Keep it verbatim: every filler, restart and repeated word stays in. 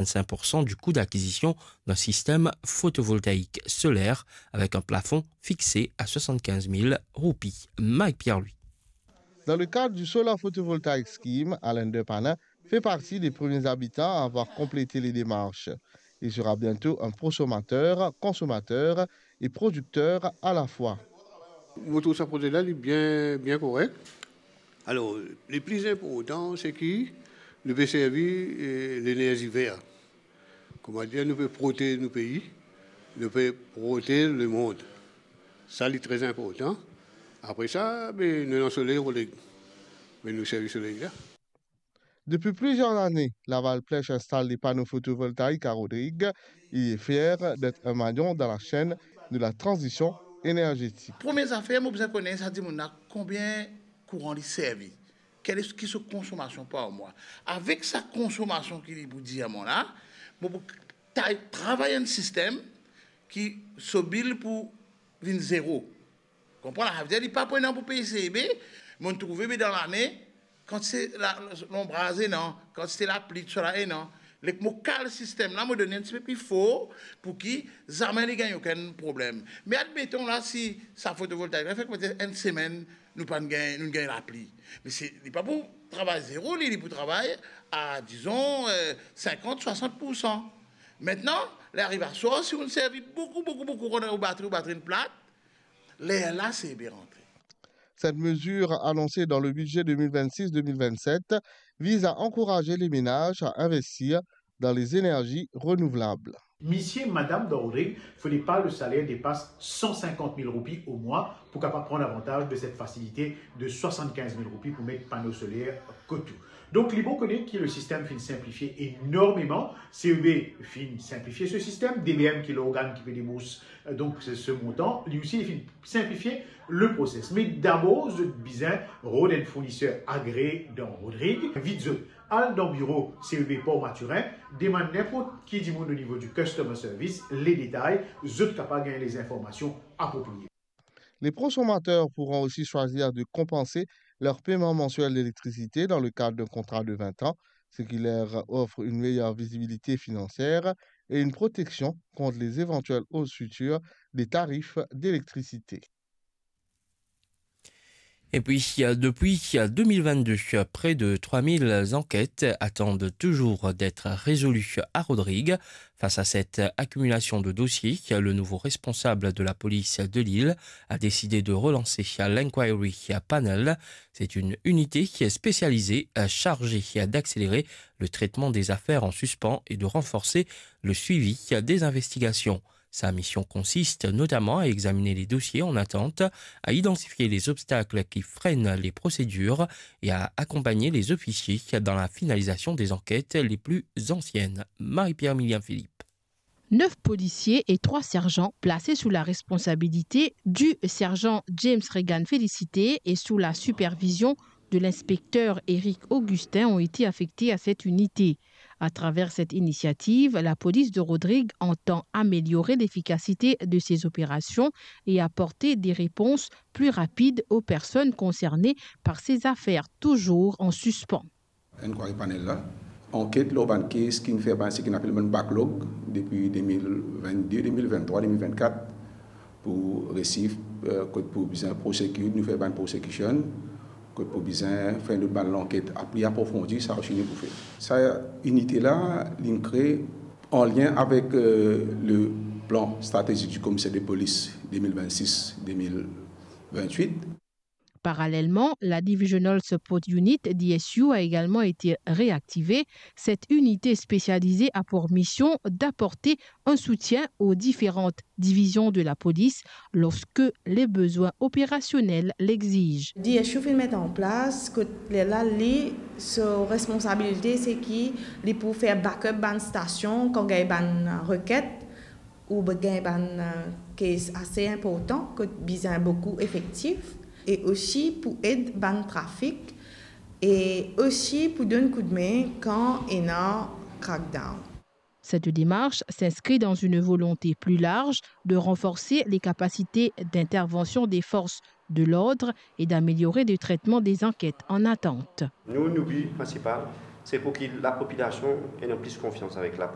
quatre-vingt-cinq pour cent du coût d'acquisition d'un système photovoltaïque solaire avec un plafond fixé à soixante-quinze mille roupies. Mike Pierre-Louis. Dans le cadre du Solar Photovoltaic Scheme, Alain Depanin fait partie des premiers habitants à avoir complété les démarches. Il sera bientôt un prosommateur, consommateur et producteur à la fois. Mo trouv sa proze la, li bien, bien korek. Alor, le pli inportan, se ki nou pe servi, eh, lenerzi ver. Kouma dir, nou pe protez nou pei, nou pe protez lemond. Sa, li tre inportan. Apre sa, be, nou ena soley, Rodrig. Be, nou servi soley la. Depuis plusieurs années, Laval Plèche installe des panneaux photovoltaïques à Rodrigues. Il est fier d'être un maillon dans la chaîne de la transition énergétique. Premie zafer, mo bizin kone sa dimoun la, konbien kouran li servi, kel ki so konsomasion par mwa. Avek sa konsomasion ki li pou dir mwa la, mo pou ta-, travay enn sistem ki so bil pou vinn zero. Konpran la? Savedir li pa pou ena pou pey C E B, mo trouve be dan lane, kantite la, lonbraz ena, kantite lapli, tousala ena. Lek mo kal sistem la, mo donn enn tipe pli for pou ki zame li gagn okenn problem. Me admeton la, si sa fotovoltaik la fer ki petet enn semenn, nou pa gagn, nou gagn lapli. Me se, li pa pou travay zero, li, li pou travay a, dizon, eh, sinkant, swasant pour san. Mintnan, li ariv aswar, si ou servi boukou, boukou, boukou kouran dan ou batri, ou batri inn plat, lerla se be rantre. Cette mesure annoncée dans le budget deux mille vingt-six deux mille vingt-sept vise à encourager les ménages à investir dans les énergies renouvelables. Misie, madam dan Rodrig, fode pa le saler depas san sinkant mil roupi o mwa pou kapav pran lavantaz de set fasilite de swasannkinz mil roupi pou met pano soler kot ou. Donk, li bon kone ki le sistem finn sinplifie enormeman, C E B finn sinplifie se sistem, D B M ki lorgann ki pe debours, eh, donk se, se montan, li osi li finn sinplifie le proses. Me dabor, zot bizin rod enn fourniser agree dan Rodrig, invit zot al dan biro C E B Port Mathurin, demann ninport ki dimoun o nivo di customer service le detay, zot kapav gagn lezinformasion aproprie. Les consommateurs pourront aussi choisir de compenser leur paiement mensuel d'électricité dans le cadre d'un contrat de vingt ans, ce qui leur offre une meilleure visibilité financière et une protection contre les éventuelles hausses futures des tarifs d'électricité. Et puis, euh, depuis, euh, deux mille vingt-deux, euh, près de trois mille enquêtes attendent toujours d'être résolues à Rodrigues. Face à cette accumulation de dossiers, le nouveau responsable de la police de l'île a décidé de relancer l'Inquiry Panel. C'est une unité qui est spécialisée, euh, chargée d'accélérer le traitement des affaires en suspens et de renforcer le suivi des investigations. Sa mission consiste notamment à examiner les dossiers en attente, à identifier les obstacles qui freinent les procédures et à accompagner les officiers dans la finalisation des enquêtes les plus anciennes. Marie-Pierre Millien Philippe. Neuf policiers et trois sergents placés sous la responsabilité du sergent James Regan Félicité et sous la supervision de l'inspecteur Éric Augustin ont été affectés à cette unité. À travers cette initiative, la police de Rodrigues entend améliorer l'efficacité de ses opérations et apporter des réponses plus rapides aux personnes concernées par ces affaires toujours en suspens. Inquiry Panel la, anket lor bann kes ki finn fer bann, seki apel bann backlog depi deux mille vingt-deux, deux mille vingt-trois, deux mille vingt-quatre, pou resi, eh, kot pou bizin prosecute, nou fer bann prosecution, kot pou bizin fer nou bann lanket pli aprofondi, sa osi nou pou fer. Sa inite la, li kree an lien avek, eh, le plan stratégique du commissaire de police deux mille vingt-six deux mille vingt-huit. Parallèlement, la Divisional Support Unit, D S U, a également été réactivée. Cette unité spécialisée a pour mission d'apporter un soutien aux différentes divisions de la police lorsque les besoins opérationnels l'exigent. D S U finn met an plas kot lerla li, so responsabilite se ki li pou fer backup bann stasion kan gagn bann reket ou gagn bann, eh, kes ase inportan kot bizin boukou efektif, e osi pou ed bann trafik, e osi pou donn koudme kan ena crackdown. Cette démarche s'inscrit dans une volonté plus large de renforcer les capacités d'intervention des forces de l'ordre et d'améliorer le traitement des enquêtes en attente. Nou, nou bi prinsipal, Se pou ki lapopilasion ena plis konfians avek lapolis.